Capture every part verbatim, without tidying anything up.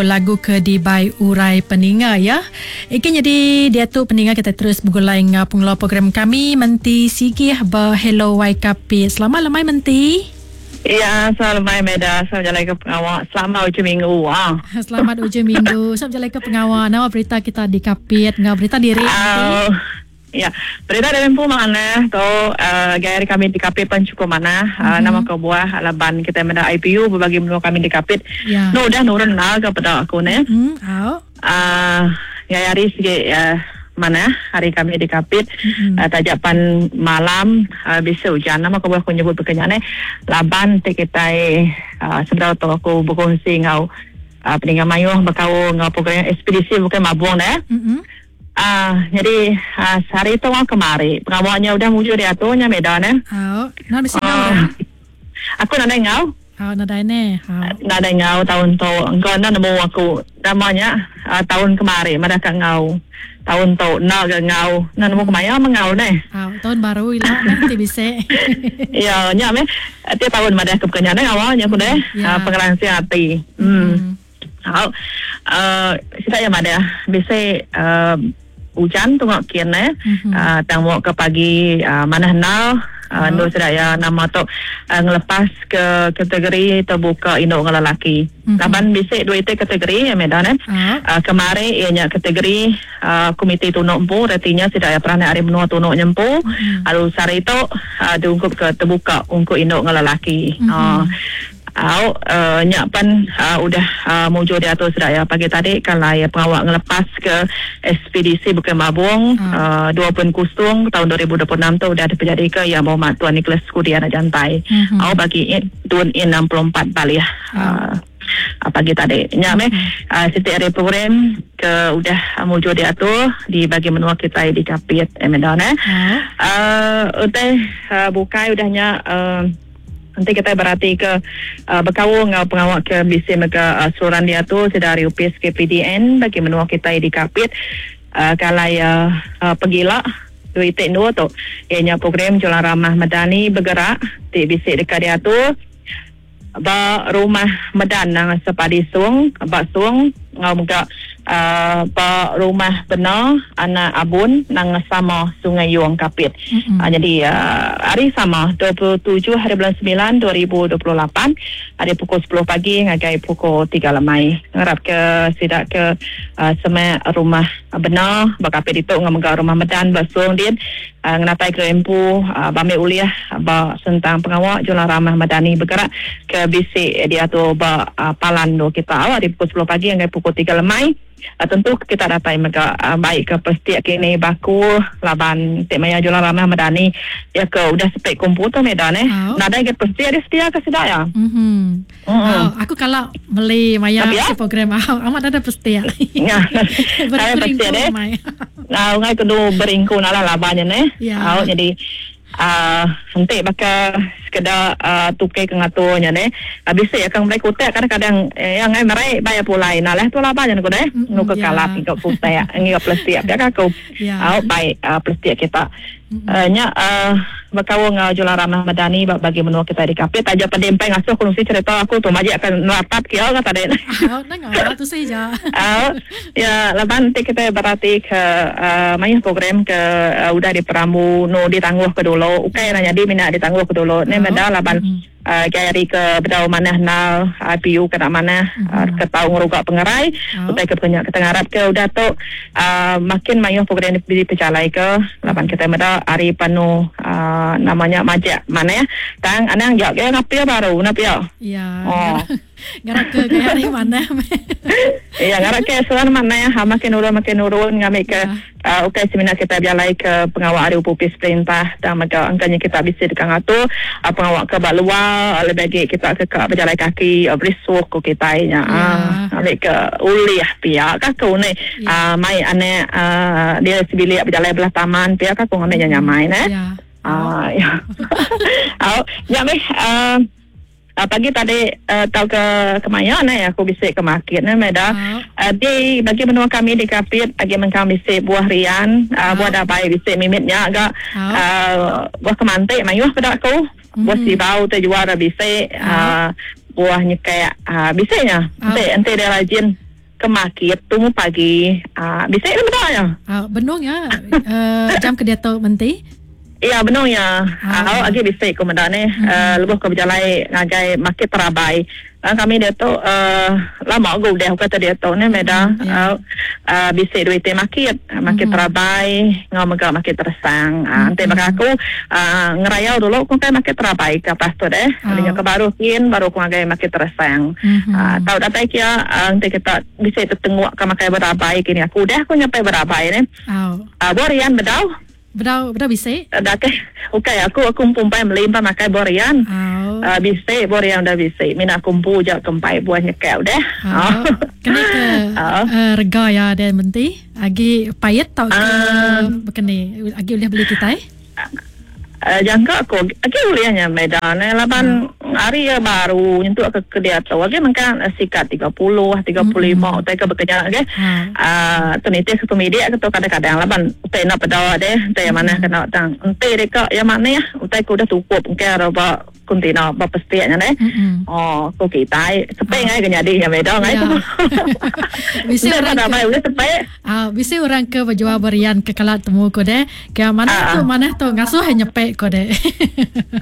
Lagu ke dibai urai peninga ya. Ike jadi dia tu peninga kita terus bergulai ngau pengelola program kami Menti Sigih ba Hello Y K P. Selamat lemai Menti. Ya, selamat lemai Meda. Selamat jalan ke pengawal. Selamat ujung minggu. Ah. Selamat ujung minggu. Selamat jalan ke pengawal. Nama berita kita di Kapit ngau berita diri. Uh, ya, berita dari empu mana tu uh, gaya kami di Kapit pun cukup mana. Uh, mm-hmm. Nama kebuah laban kita meda I P U berbagi menua kami di Kapit. Ya. No udah nurun lah kepada aku ne. Mm, oh. Uh, gaya hari segi uh, mana hari kami di Kapit mm-hmm. uh, tajapan malam uh, bisa hujan. Nama kebuah aku nyebut berkenyane laban te kita uh, sebenarnya tu aku berkongsi ngau uh, peninggal mayuh berkau ngau program ekspedisi bukan mabung deh. Mm-hmm. Ah, uh, jadi uh, sehari tu orang kemari pengawalnya udah mujur dia tu nya medan eh. Oh, nak mesti ngau. Uh, aku nak ngau. Oh, nak ne. Oh. Nak ngau tahun tu. Engkau nak nemu aku namanya uh, tahun kemari mereka ngau. Tahun tu nak ke ngau. Nak nemu kemaya mengau ne. Oh, tahun baru ila nanti bisa. Ya, nya me. Tiap tahun madah ke pekerjaan awalnya aku deh. Ya. Uh, pengelansir hati. Hmm. Hmm. Uh, sita yang madah bisa uh, hujan tengok kian eh mm-hmm. uh, tengok ke pagi uh, mana nal uh, oh. Nu sedaya nama tu uh, ngelepas ke kategori terbuka induk dengan lelaki. Mm-hmm. Laban bisik dua itu kategori ya medan eh. Oh. Uh, kemari ianya kategori uh, komite tunuk empu artinya sedaya peranan hari menua tunuk nyempu. Mm-hmm. Lalu sari itu uh, diungkup ke terbuka ungkup induk dengan lelaki. Mm-hmm. Uh, Au uh, nyak pan uh, udah uh, mujur diatur sedaya pagi tadi kalau ya pengawal ngelepas ke ekspedisi Bukit Mabung hmm. uh, dua puluh kosong tahun dua ribu dua puluh enam tu udah terjadi ke yang berhormat Tuan Nicholas Kudi anak jantai. Hmm. Au bagi Tun in enam puluh empat balik Hmm. Uh, pagi tadi. Nyak meh uh, setiap hari program ke udah uh, mujur diatur di bagi menua kita di Kapit Medan eh. Hmm. Uh, utai uh, bukai udahnya uh, nanti kita berarti ke uh, berkawal ngau pengawal ke B C mega uh, suran dia tu sedari U P S K P D N bagi menua kita di Kapit uh, kalau uh, uh, pergilah dua titik dua tu ianya program Jualan Ramah Madani bergerak di B C dekat dia tu ba rumah Medan nang sepadi sung ba sung ngau mega uh, ba rumah benar anak abun nang sama Sungai Yuang Kapit. Mm-hmm. Uh, jadi uh, hari sama dua puluh tujuh hari bulan sembilan dua ribu dua puluh lapan hari pukul sepuluh pagi ngagai pukul tiga lemai. Ngarap ke sidak ke uh, semak rumah benar ba Kapit itu ngau mega rumah Medan ba sung din uh, ngenatai ke empu uh, bame uliah ba sentang pengawal Jualan Ramah Madani bergerak ke B C dia tu ba uh, palan do kita awak di pukul sepuluh pagi hingga pukul tiga lemai. Uh, tentu kita datai mega uh, baik ke pestiak kini baku laban tik maya Jualan Ramah Madani ya ke udah sepek komputer medan eh Oh. nadai ke pestiak dia setia ke sedak ya. Mhm. Mm-hmm. Oh, aku kalau beli maya Tapi, ya? si program oh, amat ada pestiak. Ya. Ada pestiak deh. Nah, ngai kudu beringku nalah labannya ne. Ya. Oh, jadi ah uh, nanti bakal sekedar uh, tukai ke ngaturnya ne. Habis uh, akan mereka kutek kadang-kadang eh, yang ngai merai bayar pulai. Nah lah tu lah banyak ku deh. Mm-hmm, Nu ke ya. kalap ngikut kutek, ngikut plastik ya aku. Ya. Uh, baik uh, plastik kita. Mm-hmm. Uh, nya uh, berkawal ngau Jualan Ramah Madani bagi menua kita di Kapit aja pendempeng ngasuh kongsi cerita aku tu majik akan merapat kia kata dek. Oh, nang ngau tu saja. Uh, ya lepas nanti kita berarti ke uh, mayuh program ke uh, udah diperamu no ditangguh ke dulu. Okey nak jadi minat ditangguh ke dulu. Ni Oh. benda laban Mm-hmm. uh, gaya ke bedau manah nal I P U ke nak manah Mm-hmm. uh, ke tau ngerugak pengerai Oh. utai ke penyak kita ngarap ke udah tu uh, makin mayuh program di pejalai ke laban kita meda hari penuh uh, namanya majak mana ya tang anang jauh ke ngapia baru napia Ya. Oh. Ngarap ke gaya hari mana? Ya, ngarap ke soal mana ya, ha, makin urun makin urun ngambil ke Ya. uh, okey seminar kita berjalai ke pengawal hari upis perintah dan maka angkanya kita bisa dekat ngatur uh, pengawal ke bak luar lebih lagi kita ke ke berjalai kaki uh, berisuk ke kita nya Ya. uh, ambil ke uliah pihak kaku ni Ya. uh, mai anak uh, dia sebilik berjalai belah taman pihak kaku ngambil nyamai ne. Ya. Ah, ya. Oh, ya meh uh, Uh, pagi tadi uh, tahu ke kemaya ne aku bisik ke market ne meda. Oh. Uh, di bagi menua kami di Kapit agi mengkang bisik buah rian, uh, Oh. buah dabai bisik mimitnya agak Oh. uh, buah kemantik mayuh pada aku. Mm. Buah sibau tu jual dah bisik, Oh. uh, buah nyekek uh, bisiknya. Oh. Ente ente dia rajin. ke market tumu pagi. Uh, bisa ini benar ya? Uh, benung ya. Uh, jam ke dia tu menti? Ya benung ya. Ah, uh, lagi bisa ku meda ni. Hmm. Uh, lebuh ke berjalai ngagai market terabai. Uh, kami dia tu uh, lama aku udah kata dia tu ni meda. Hmm, yeah. uh, uh, bisa duit market, market hmm. terabai, ngau mega market tersang. Uh, nanti hmm. baka aku uh, ngerayau dulu ku kai market terabai ke pas tu deh. Oh. Ke baru kin baru ku ngagai market tersang. Hmm. Uh, tau datai kia uh, nanti kita bisa tertengok ke makai berabai kini aku udah aku nyampai berabai ni. Oh. Uh, borian bedau. Bedau bedau bisa? Dah ke. Okey aku aku pumpai beli empat makai borian. Oh. Uh, bisa borian dah bisa. Mina kumpu je kempai buah nyekel dah. Oh. Kena ke oh. uh, rega ya dan menti agi payet tau ke uh, bekeni agi boleh beli kita eh? Uh, jangka aku agi bolehnya medan eh laban hmm. hari ya baru nyentuk ke ke dia tu agi mengkan sikat tiga puluh tiga puluh lima utai ke bekerja ke ah tu nitih ke pemidik ke tu kadang-kadang laban utai nak pedawa deh utai yang mana kena tang ente deka yang mana ya utai ku dah cukup mungkin ada kontainer berapa setiaknya deh. Oh, ku kita sepe ngai ke jadi ya beda ngai tu. Bisi orang ke boleh sepe. Ah, bisi orang ke berjual berian ke kalat temu ku deh. Ke mana tu mana tu ngasuh nyepek ku deh.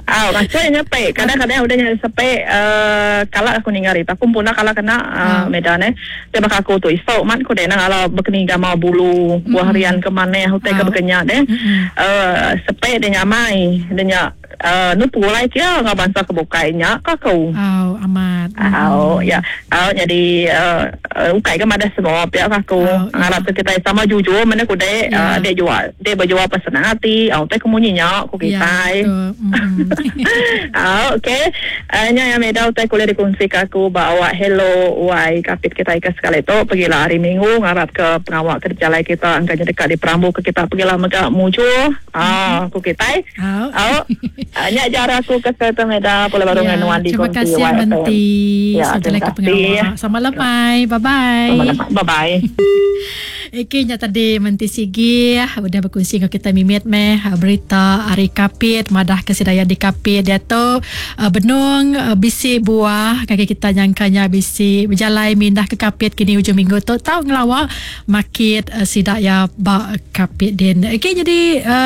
Ah, ngasuh nyepek. Kadang-kadang udah nyari sepe eh kalau aku ninggal itu aku pun kalau kena uh, medan eh. Sebab aku tu isok mat ku deh nang ala bekeni gama bulu buah harian ke mana hotel ke bekenya deh. Eh sepe dia nyamai dia nya Uh, nu pulai kia ngah bangsa kebukainya kau. Oh, amat. Oh, ya. Oh, jadi uh, uh, ukai ke mana semua pihak aku. Oh, ngarap ya. Kita sama jujur mana ku dek ya. uh, dek jual, dek berjual pesenang hati. Oh, teh kemunyinya ku kita. Ya, mm. Oh, okey. Uh, nya yang medal teh kuliah dikongsi ke aku bawa hello wai kapit kita ikas sekali tu pergilah hari Minggu ngarap ke pengawal kerja lai kita angkanya dekat di Perambu ke kita pergilah megak muncul. Ah, ku kita. Oh. Oh. Hanya cara aku ke kereta meda boleh baru ya, dengan Wandi terima kasih Menti. Ya, terima kasih. Selamat lemai. Bye bye. Selamat lemai. Bye bye. Okey, nya tadi Menti Sigi udah berkongsi dengan kita mimit meh berita hari kapit madah ke sedaya di kapit dia tu benung bisi buah kaki kita nyangkanya bisi berjalai mindah ke kapit kini hujung minggu tu tau ngelawak market sidaya ba kapit din. Okey, jadi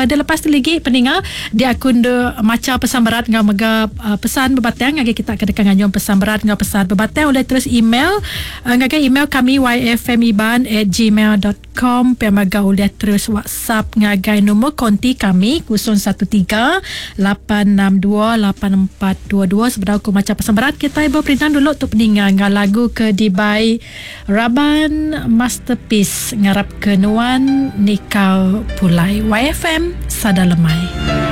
dia lepas tu lagi peninga dia akun de maca pesan berat ngau mega pesan berbatang ngagai kita ke dekat nganyung pesan berat ngau pesan berbatang oleh terus email ngagai email kami y f m iban at gmail dot com pemaga oleh terus WhatsApp ngagai nombor konti kami kosong satu tiga lapan enam dua lapan empat dua dua. Sebenarnya aku maca pesan berat kita berperintah dulu untuk peninga ngau lagu ke dibai Raban Masterpiece ngarap ke nuan nikau pulai. Y F M Sada Lemai.